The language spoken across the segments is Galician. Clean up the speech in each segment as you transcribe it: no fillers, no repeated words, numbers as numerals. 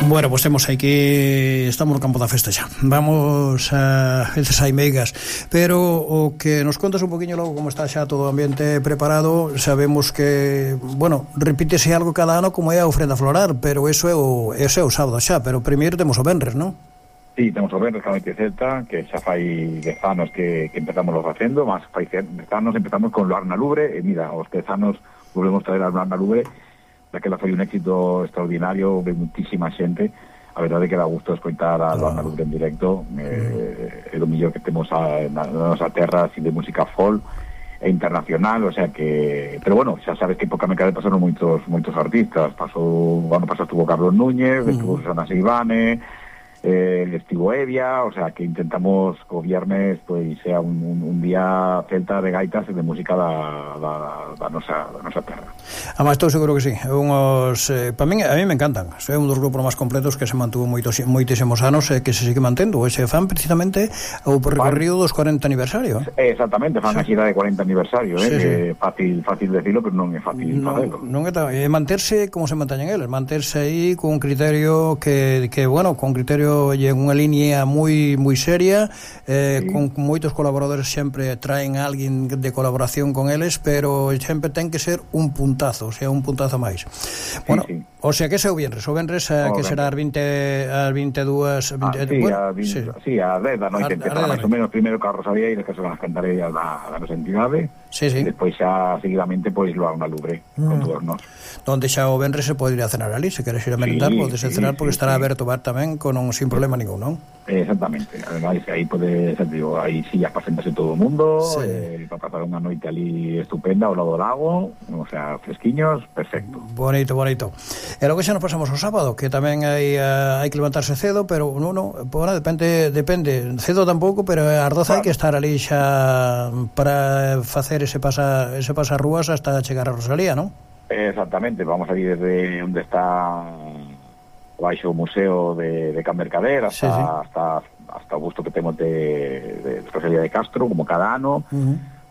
Bueno, pues temos aquí, estamos no campo da festa xa. Vamos a veces hai meigas, pero o que nos contas un poquinho logo como está xa todo o ambiente preparado, sabemos que, bueno, repítese algo cada ano como é a ofrenda floral, pero eso é o sábado xa, pero primeiro temos o venres, non? Sí, temos o venres que a noite celta, que xa fai 10 anos que empezamos lo facendo, mas fai 10 anos empezamos con Luar na Lubre, e mira, os 10 anos volvemos traer a Luar na Lubre. Daquela foi un éxito extraordinario, de muitísima xente. A verdade é que dá gusto escoitar a Luar na Lubre en directo. É o mellor que temos na nosa terra, así de música folk e internacional, o sea que... Pero bueno, xa sabes que por Camecade pasaron moitos artistas. O ano pasado estuvo Carlos Núñez, estuvo Susana Seivane, estivo Evia, o sea que intentamos que o viernes pois sea un día celta de gaitas e de música da nosa terra. Además, estou seguro que sí. A mí me encantan. É un dos grupos máis completos que se mantuvo moitísimos anos e que se sigue mantendo. E se fan precisamente o percorrido dos 40 aniversario. Exactamente, fan a xira de 40 aniversario. Sí. Fácil decirlo, pero non é fácil facelo. Non é manterse como se manteñen eles, manterse aí con un criterio que bueno, con criterio e unha línea moi seria, con moitos colaboradores, sempre traen a alguén de colaboración con eles, pero sempre ten que ser un puntazo, o sea, un puntazo máis. Bueno, sí. O sea, que é o venres que será as 22... Sí, a 10 da noite empezará máis ou menos primeiro ca Rosalía e despois van as cantarelas da nosa entidade, e despois xa seguidamente pois Luar na Lubre con todos nós. Donde xa o venres se pode ir a cenar ali, se queres ir a merendar, podes cenar, porque estará aberto o bar tamén sin problema ningún, non? Exactamente, ademais aí pode ser, digo, aí sillas para sentarse todo o mundo, para pasar unha noite ali estupenda ao lado do lago, o sea, fresquiños, perfecto. Bonito. E logo xa nos pasamos ao sábado, que tamén hai que levantarse cedo, pero bueno, depende, cedo tampouco, pero ás 12 hai que estar ali xa para facer ese pasarrúas hasta chegar a Rosalía, non? Exactamente, vamos ali desde onde está baixo o museo de Can Mercader hasta o gusto que temos de Rosalía de Castro, como cada ano.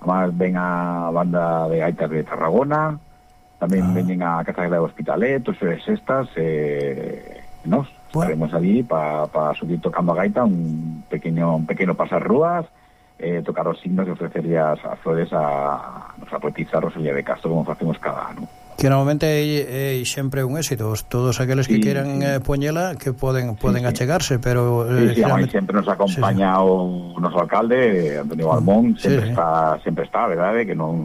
Además ven a banda de gaitas de Tarragona, tamén veñen a Casa de Hospitalet, todas estas, nos estaremos allí para subir tocando a gaita, un pequeño pasarrúas, tocar os signos e ofrecerle as flores a nosa poetisa Rosalía de Castro, como facemos cada ano. Que normalmente é sempre un éxito, todos aqueles que queran poñela, que poden achegarse, pero sempre nos acompaña o noso alcalde Antonio Balmón, sempre está, verdade, que non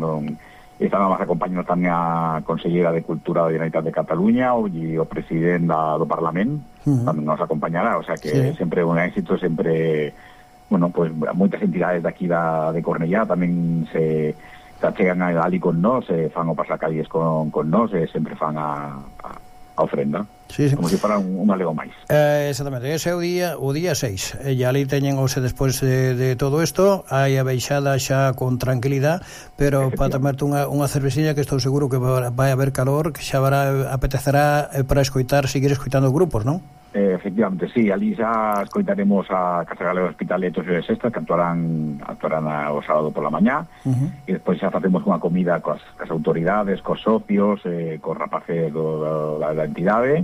está nada máis acompañando tamén a consellera de Cultura da Generalitat de Cataluña e o presidente do Parlamento tamén nos acompañará, o sea que sempre é un éxito, sempre, bueno, pues moitas entidades de aquí de Cornellá tamén se chegan ali con nós, fan o pasacalles con nós, sempre fan a ofrenda, como se fora un alego máis. Exactamente, ese é o día 6, e ali teñen despois de todo isto, hai a baixada xa con tranquilidade, pero para tomarte unha cervecilla, que estou seguro que vai haber calor, que xa apetecerá para seguir escoitando grupos, non? Efectivamente, sí, ali xa escoitaremos a Casa Galega Hospitaletos e Sexta, que actuarán o sábado pola mañá, e despois xa facemos unha comida coas autoridades, cos socios, cos rapaces da entidade,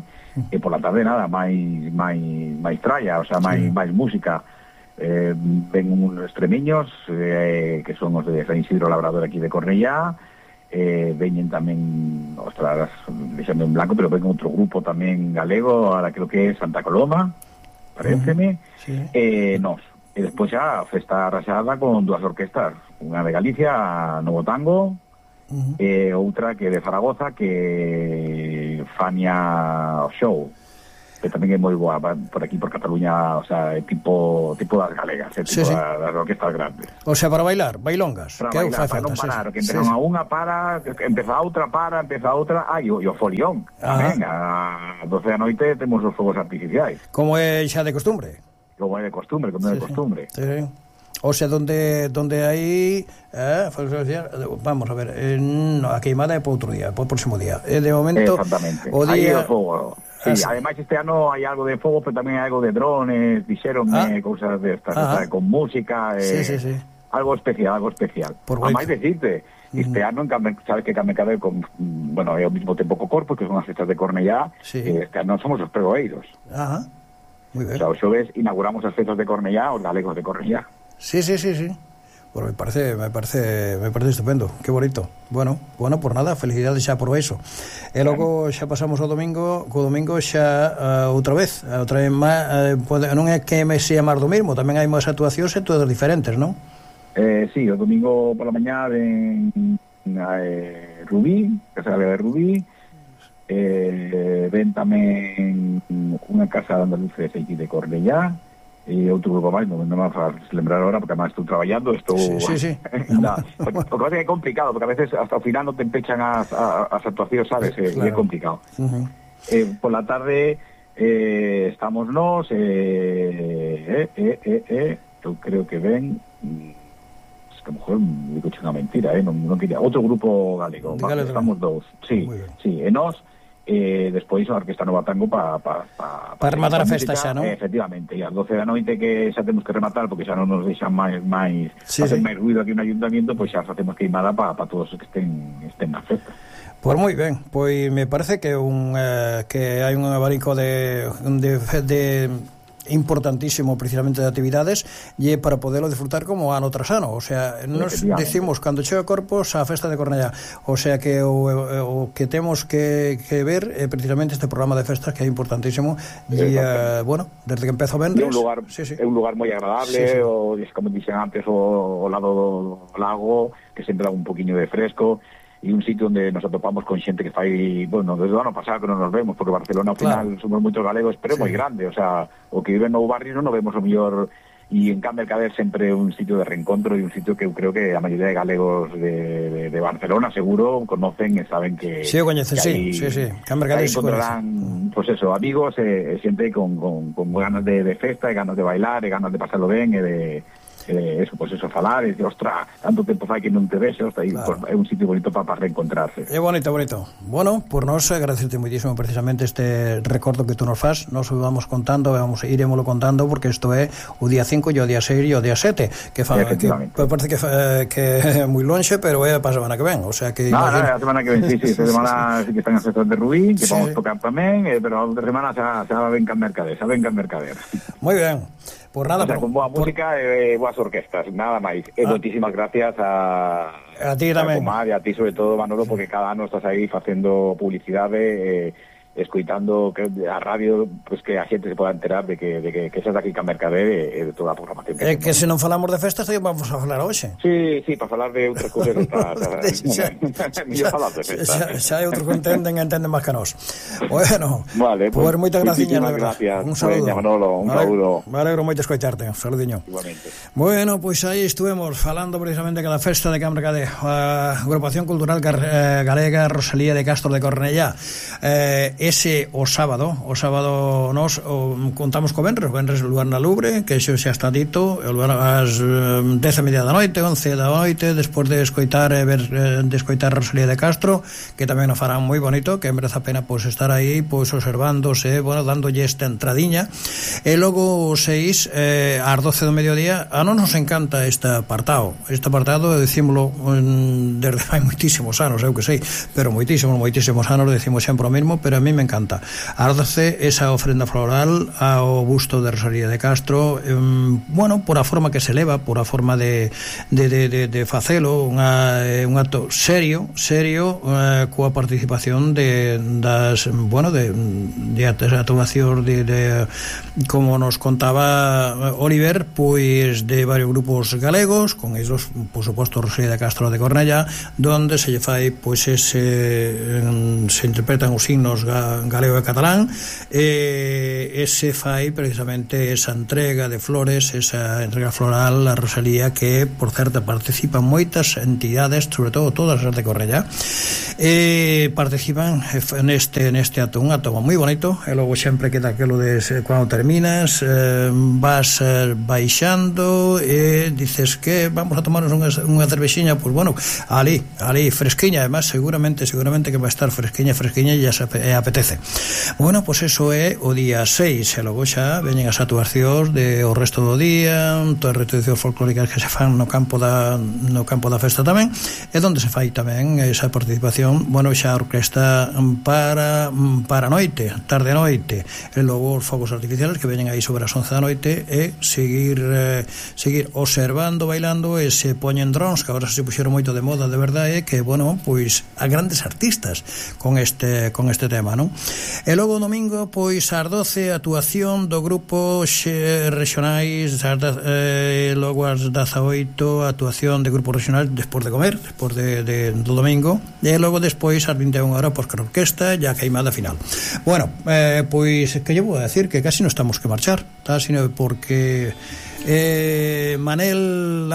e pola tarde nada, máis tralla, o sea, máis música. Ven uns extremeños, que son os de San Isidro Labrador aquí de Cornellá, veñen tamén, ostras, deixando en blanco, pero ven outro grupo tamén galego, ahora creo que é Santa Coloma, paréceme, nos. E despois xa festa raxada con dúas orquestas, unha de Galicia, Novo Tango, e outra que de Zaragoza, que Fania Show, que tamén é moi boa por aquí, por Cataluña, o sea, tipo das galegas, das orquestas grandes. O sea, para bailar, bailongas. Para bailar, para non parar, que empezan a unha para, empeza a outra, e o folión. Tamén, a 12 da noite temos os fogos artificiais. Como é xa de costumbre. Como é de costumbre. Sí. O sea, donde hai vamos a ver, a queimada é para outro día, para o próximo día. De momento, exactamente. O día... Aí o fogo. Sí, ademais este ano hai algo de fogo, pero tamén hai algo de drones, dixeronme, cousas destas, con música. Sí. Algo especial. A máis decirte, este ano, sabes que Camecade, bueno, é ao mesmo tempo co Corpus, que son as festas de Cornellá, este ano somos os pregoeiros. Ajá, moi ben. O sea, o xoves inauguramos as festas de Cornellá, os galegos de Cornellá. Sí. Bueno, me parece estupendo, qué bonito. Bueno, por nada, felicidades xa por eso. E logo xa pasamos ao domingo, xa outra vez máis, non é que me sea máis do mesmo, tamén hai máis actuacións e todas diferentes, non? Sí, o domingo pola mañá ven Rubí, Casa Galega de Rubí, ven tamén unha casa de andaluces aquí de Cornellá, e outro grupo máis, non me vas lembrar ahora porque además estou traballando, Sí. O que pasa é complicado, porque a veces hasta o final non te empechan as actuacións, sabes, claro. E é complicado. Por la tarde estamos nós, eu creo que ven, es que a lo mejor me digo unha mentira, non quería, outro grupo galego, estamos dous, sí, e nós, despois a Orquesta Nova Tango para rematar a festa xa, non? Efectivamente, e ás 12 da noite que xa temos que rematar porque xa non nos deixan máis facer máis ruido aquí no ayuntamiento, pois xa facemos queimada para todos os que estén na festa. Pois moi ben, pois me parece que hai un abanico de importantísimo precisamente de actividades e para poderlo disfrutar como ano tras ano, o sea, nos decimos cando chega Corpus a festa de Cornellá, o sea que o que temos que ver é precisamente este programa de festas que é importantísimo e, bueno, desde que empezo a vender é un lugar moi agradable, o como dixen antes, o lado do lago que sempre dá un poquinho de fresco e un sitio onde nos atopamos con xente que fai, bueno, desde o ano pasado que non nos vemos, porque Barcelona ao final somos moitos galegos, pero é moi grande, o sea, o que vive no barrio non nos vemos o mellor, e en Can Mercader sempre é un sitio de reencontro e un sitio que eu creo que a maioría de galegos de Barcelona seguro conocen e saben que sí, coñecen, sí, Can Mercader se encontrarán, pues eso, amigos e xente con ganas de festa e ganas de bailar e ganas de pasarlo ben e de eso, pues eso, falar e de, ostra, tanto tempo fai que non te ves, ostra, claro. Pues, é un sitio bonito para reencontrarse. É bonito. Bueno, por nos agradecerte moitísimo precisamente este recordo que tú nos faz, nos vamos contando, iremoslo contando, porque isto é o día 5 e o día 6 e o día 7, que parece que é moi lonxe, pero é para a semana que ven, o sea que... No, a semana que ven, sí, esta semana sí que están as festas de Rubí, que vamos tocar tamén, pero a outra semana xa ven Can Mercader, Moi ben. Por nada, o sea, con boa música e boas orquestas, nada máis. E moitísimas gracias a ti tamén. Comar e a ti sobre todo, Manolo, porque cada ano estás aí facendo publicidade, escoitando a radio, pues que a xente se poda enterar de que xa está aquí Can Mercader e de toda a programación que se non falamos de festas, vamos a falar hoxe. Sí, para falar de outras cousas mellor falar de festas. Xa hai outros que entenden máis que nós. Bueno, vale, pues moitas graciñas, de verdad. Un saludo. Manolo, un saludo. Me alegro moito escoitarte, un saludiño. Igualmente. Bueno, pois aí estuvemos falando precisamente de cada festa de Can Mercader, a Agrupación Cultural Galega Rosalía de Castro de Cornellá. Ese o sábado nos contamos co Venres lugar na Lubre, que xo xa está dito, o lugar ás 10:30 da noite, 11 da noite, despois de escoitar Rosalía de Castro, que tamén nos farán moi bonito, que merece a pena pois estar aí pois observándose, bueno, dándolle esta entradiña. E logo 6 ás 12 do mediodía, a non nos encanta este apartado, decímolo desde fai moitísimos anos, eu que sei, pero moitísimos anos decimos sempre o mesmo, pero a mí me encanta. Ás 12 esa ofrenda floral ao busto de Rosalía de Castro, bueno, por a forma que se leva, por a forma de facelo, un acto serio, coa participación de actuacións de como nos contaba Oliver, pois de varios grupos galegos, con eles, por suposto, Rosalía de Castro de Cornellá, donde se lle fai, pois se interpretan os signos galego e catalán, e se fai precisamente esa entrega de flores, esa entrega floral a Rosalía, que por certo participan moitas entidades, sobre todo todas as de Cornellá, participan neste acto, un acto moi bonito. E logo sempre queda aquilo de cando terminas, vas baixando e dices que vamos a tomarnos unha cervexiña, pois bueno, ali fresquiña, además seguramente que vai estar fresquiña e a apetece. Bueno, pois eso é o día 6, e logo xa veñen as actuacións de o resto do día, todas as repeticións folclóricas que se fan no campo da festa tamén, e onde se fai tamén esa participación, bueno, xa a orquesta para noite, tarde noite, e logo os fogos artificiales que veñen aí sobre as 11 da noite, e seguir observando, bailando, e se poñen drones, que agora se puxeron moito de moda, de verdade, que, bueno, pois a grandes artistas con este tema, non? E logo o domingo, pois ás 12, actuación do grupo regionais, logo ás 18, actuación de grupos regionais despois de comer, despois do domingo, e logo despois ás 21 horas, pois con a orquesta e a queimada final. Bueno, pois que lle vou a decir que casi non estamos que marchar, tá? Sino porque Manel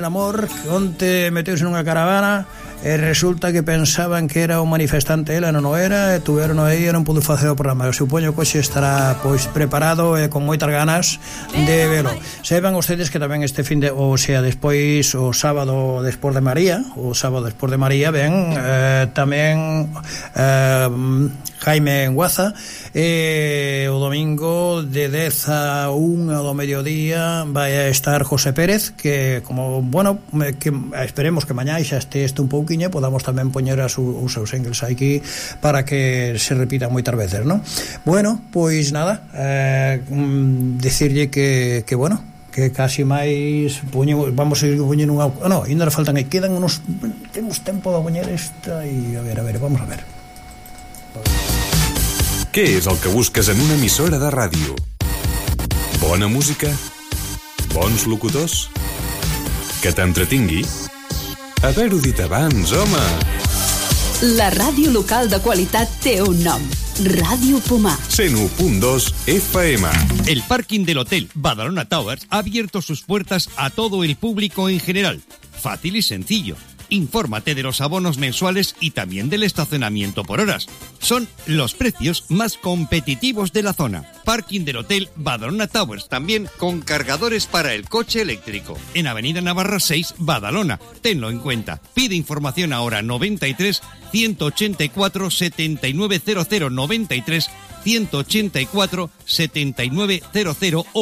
Amor onte meteuse nunha caravana e resulta que pensaban que era un manifestante, ela non o era, e tuveron aí e non pudo facer o programa. Eu supoño que hoxe estará pois preparado e con moitas ganas de velo. Sepan ustedes que tamén este fin de, o sea, despois o sábado despois de María ven tamén Jaime Guaza, e o domingo de 10 a 1 do mediodía vai a estar José Pérez, que como, bueno, que esperemos que mañá xa este un pouquiño, podamos tamén poñer os seus singles aquí para que se repitan moitas veces, non? Bueno, pois nada, decirlle que bueno, que casi máis vamos a ir poñendo unha... No, ainda nos faltan, quedan unos... Temos tempo de poñer esta e a ver, vamos a ver. Què és el que busques en una emissora de ràdio? Bona música? Bons locutors? Que t'entretingui? Haver-ho dit abans, home! La ràdio local de qualitat té un nom. Radio Pomar. 101.2 FM. El parking del Hotel Badalona Towers ha abierto sus puertas a todo el público en general. Fácil y sencillo. Infórmate de los abonos mensuales y también del estacionamiento por horas. Son los precios más competitivos de la zona. Parking del Hotel Badalona Towers, también con cargadores para el coche eléctrico. En Avenida Navarra 6, Badalona. Tenlo en cuenta. Pide información ahora 93 184 7900 93 184 7900 o